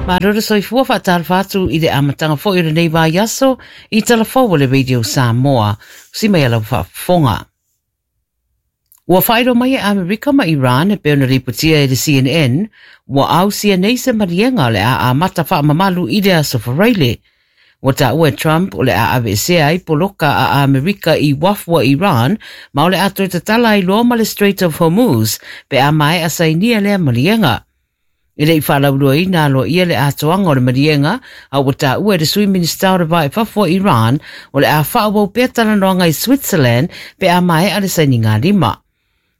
Malo le soifua faatalofa atu i le amataga foi o lenei vaiaso i Talafou o le Radio Samoa. Si mai lau faafofoga. Ua faailoa mai e Amerika ma Iran e pei ona lipotia e le CNN, ua ausia nei se maliega o le a amata faamamalu i le aso Faraile. Ua taua e Trump o le a aveesea ai poloka a Amerika i uafu a Iran ma o le a toe tatala ai loa ma le Strait of Hormuz pe a maea sainia lea maliega. E le i faalauiloaina aloaia le atoaga o le maliega, a ua taua e le Sui Minisita o le Va i Fafo o Iran o le a faaauau pea talanoaga i Switzerland pe a maea le sainigalima.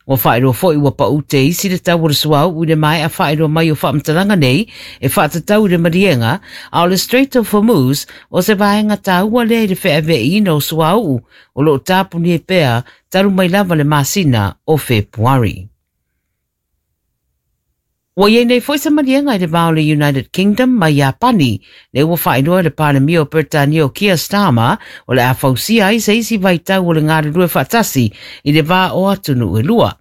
Ua faailoa foi ua pau te isi le tau o le suauu i le maea faailoa mai o faamatalaga nei e faatatau i le maliega, a o le Strait of Hormuz o se vaega taua lea i le feaveaiina o suauu o lo o tapunia pea talu mai lava le masina o Fepuari. Ua i ai nei foi se maliega i le va o le United Kingdom ma Iapani, lea ua faailoa e le Palemia o Peretania o Keir Starmer o le a fausia ai se isi vaitau o le galulue faatasi i le va o atunuu e lua.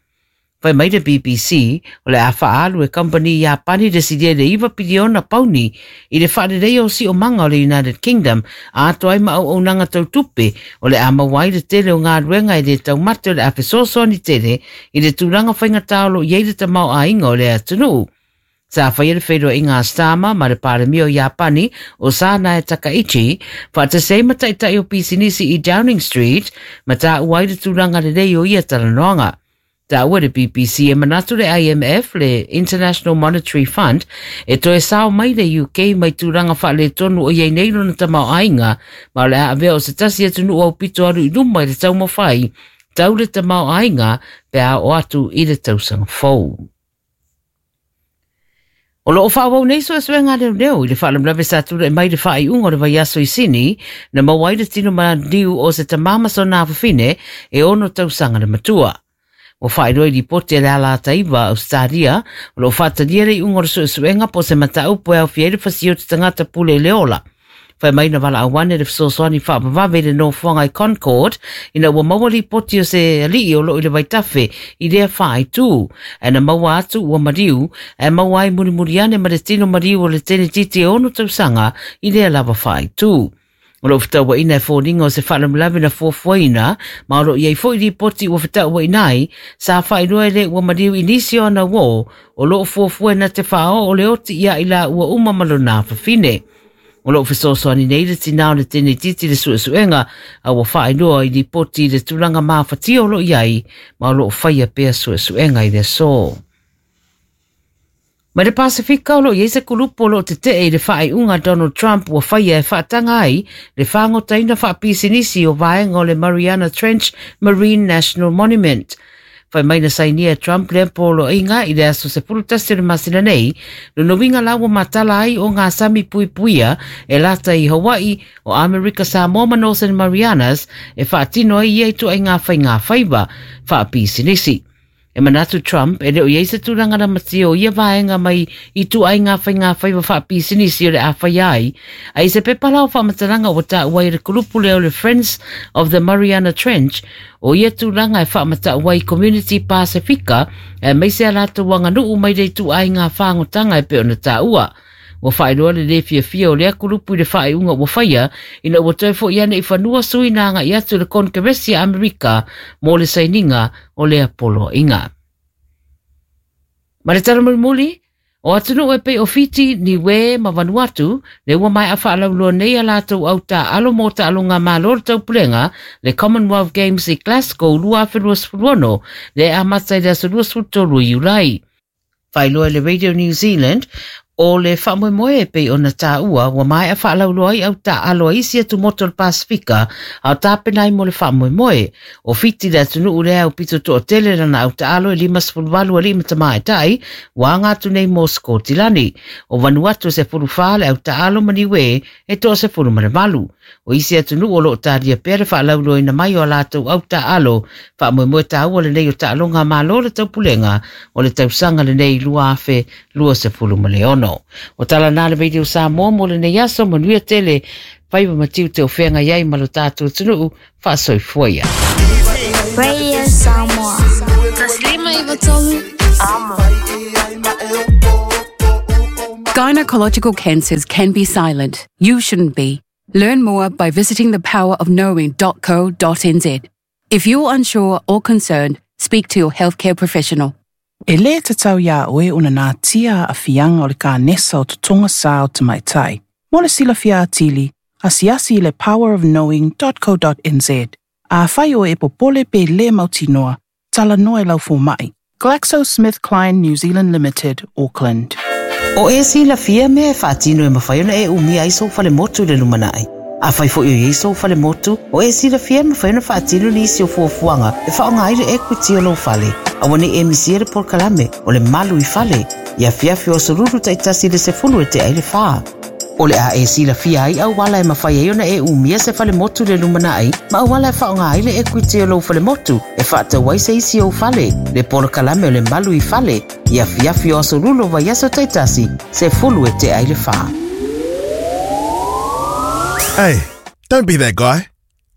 Fai mai le BBC, o le a faaalu e kamupani Iapani le silia i le 9 piliona pauni i le faaleleia o siomaga o le United Kingdom atoa ai ma auaunaga tau tupe o le a maua ai le tele o galuega e lē taumate o le a fesoasoani tele i le tulaga faigata o lo o i ai le tamaoaiga o le atunuu. Sa faia le feiloaiga a Starmer ma le Palemia o Iapani o Sanae Takaichi faatasi ai ma taitai o pisinisi i Downing Street ma taua ai le tulaga lelei o ia talanoaga. Taua le BBC e manatu le IMF, le International Monetary Fund, e toe sao mai le UK mai tulaga faaletonu o i ai nei lona tamaoaiga, ma o le a avea o se tasi atunuu aupito alu i luma i le taumafai tau le tamaoaiga pe a oo atu i le tausaga fou. O lo o faaauau nei suesuega a leoleo i le faalavelave sa tulai mai i le faaiuga o le vaiaso i Sini, na maua ai le tino maliu o se tama ma sona afafine e ono tausaga le matua. Ua faailoa i lipoti a le Alata Iva Ausetalia, o lo o faatalia le iuga o le suesuega po o se mataupu e aofia ai le fasia o te tagata pule i le ola. Fai mai na valaau ane le fesoasoani faavavave i le nofoaga i Concord ina ua maua lipoti o se alii o lo o i le vaitafe i lea faaitu. Ae na maua atu ua maliu, ae maua ai mulimuli ane ma le tino maliu o le tenetiti e ono tausaga i lea lava faaitu. O lo o fetauaiina e foliga o se faalavelave na fuafuaina, ma o lo o i ai foi lipoti ua fetauaiina ai, sa faailoa e le ua maliu i nisi o ana uō o lo o fuafua na te faaoo o le oti ia i la ua uma ma lona afafine. O lo o fesoasoani nei le tinā o le tenetiti i le suesuega, a ua faailoa i lipoti i le tulaga mafatia o lo o i ai, ma o lo o faia pea suesuega i le aso. Mai le Pasefika o lo o i ai se kulupu o lo o tetee i le faaiuga a Donald Trump ua faia e faataga ai le fagotaina faapisinisi o vaega o le Mariana Trench Marine National Monument. Fai mai na sainia e Trump lea poloaiga i le aso 11 o le masina nei, lona uiga la ua matala ai o ngā sami puipuia e lata i Hawaii, o Amerika Samoa ma Northern Marianas e faatino ai ia i ituaiga faiga faiva faapisinisi. E manatu Trump e le o i ai se tulaga lamatia o ia vaega mai i ituaiga faiga faiva faapisinisi o le a faia ai, a i se pepa la o faamatalaga ua taua ai e le kulupu lea o le Friends of the Mariana Trench o ia tulaga e faamatau ai Community Pasifika aemaise a latou aganuu mai le ituaiga fagotaga e pei ona taua. Ua faailoa le lē fiafia o lea kulupu i le faaiuga ua faia ina ua toe fo'i ane i fanua sui na aga'i atu i le Konekeresi a Amerika mo le sainiga o lea poloaiga. Ma le tala mulimuli, o atunuu e pei o Fiti, Niue ma Vanuatu, le ua maea faalauiloa nei a latou au taaalo mo taaloga Malo o le Taupulega, le Commonwealth Games i Glasgow 2026, le amata i le aso 23 o Iulai. Faailoa e le Radio New Zealand, o le faamoemoe e pei ona taua ua maea faalauiloa ai au taaalo a isi atumotu o le Pasefika a o tapena ai mo le faamoemoe. O Fiti le atunuu lea aupito toatele lana au taaalo e 58 alii ma tamaitai ua aga atu nei mo Sikotilani. O Vanuatu e 14 le au taaalo ma Niue e 18. O isi atunuu o lo o talia pea le faalauiloaina mai o a latou au taaalo faamoemoe taua lenei o taaloga a Malo o le Taupulega o le tausaga lenei 2026. O tala na le Radio Samoa mo lenei aso, manuia tele, faiva ma tiute o feagai ai ma lo tatou atunuu, faasoifua ia. Radio Samoa. 153 Amo. Gynecological cancers can be silent. You shouldn't be. Learn more by visiting thepowerofknowing.co.nz. If you're unsure or concerned, speak to your healthcare professional. E lē tatau iā oe ona natia aafiaga o le kanesa o totoga sā o tamaitai. Mo le silafia atili, asiasi i le powerofknowing.co.nz. Afai o e popole pe lē mautinoa, talanoa i lau fomaʻi. GlaxoSmithKline New Zealand Limited, Auckland. O e silafia mea e faatino e mafai ona e umia ai sou falemotu i le lumanai. Afai foi o i ai sou falemotu, o e silafia e mafai ona faatino nisi o fuafuaga e faaaoga ai le equity o lou fale. Aua ne i e misia le polokalame o le Malu i Fale, i afiafi o aso Lulu taitasi i le 10 e tea i le 4. O le a e silafia ai auala e mafai ai ona e umia se falemotu i le lumanai ma auala e faaaoga ai le equity o lou falemotu e faatau ai se isi ou fale. Le polokalame o le Malu i Fale, i afiafi o aso Lulu o vaiaso taitasi, 10 e tea i le 4. Hey, don't be that guy.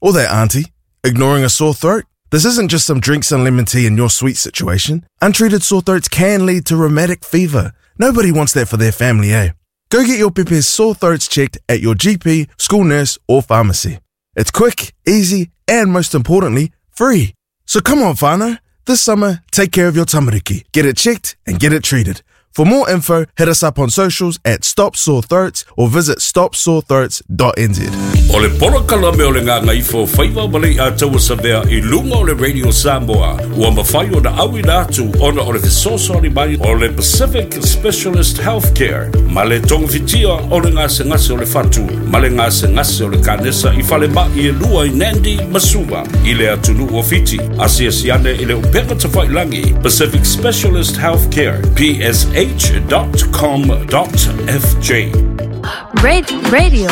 Or that auntie. Ignoring a sore throat? This isn't just some drinks and lemon tea in your sweet situation. Untreated sore throats can lead to rheumatic fever. Nobody wants that for their family, eh? Go get your pepe's sore throats checked at your GP, school nurse, or pharmacy. It's quick, easy, and most importantly, free. So come on, whānau. This summer, take care of your tamariki. Get it checked and get it treated. For more info, hit us up on socials at Stop Sore Throats or visit stopsorethroats.nz. O le polokalame o le Gagaifo Faiva ma Leiataua Savea i luga o le Radio Samoa ua mafai ona auina atu ona o le fesoasoani mai o le Pacific Specialist Healthcare ma le togafitia o le gasegase o le fatu ma le gasegase o le kanesa i falemaʻi e lua i Nadi ma Suva i le atunuu o Fiti. Asiasi ane i le upega tafailagi Pacific Specialist Healthcare psh.com.fj. Radio.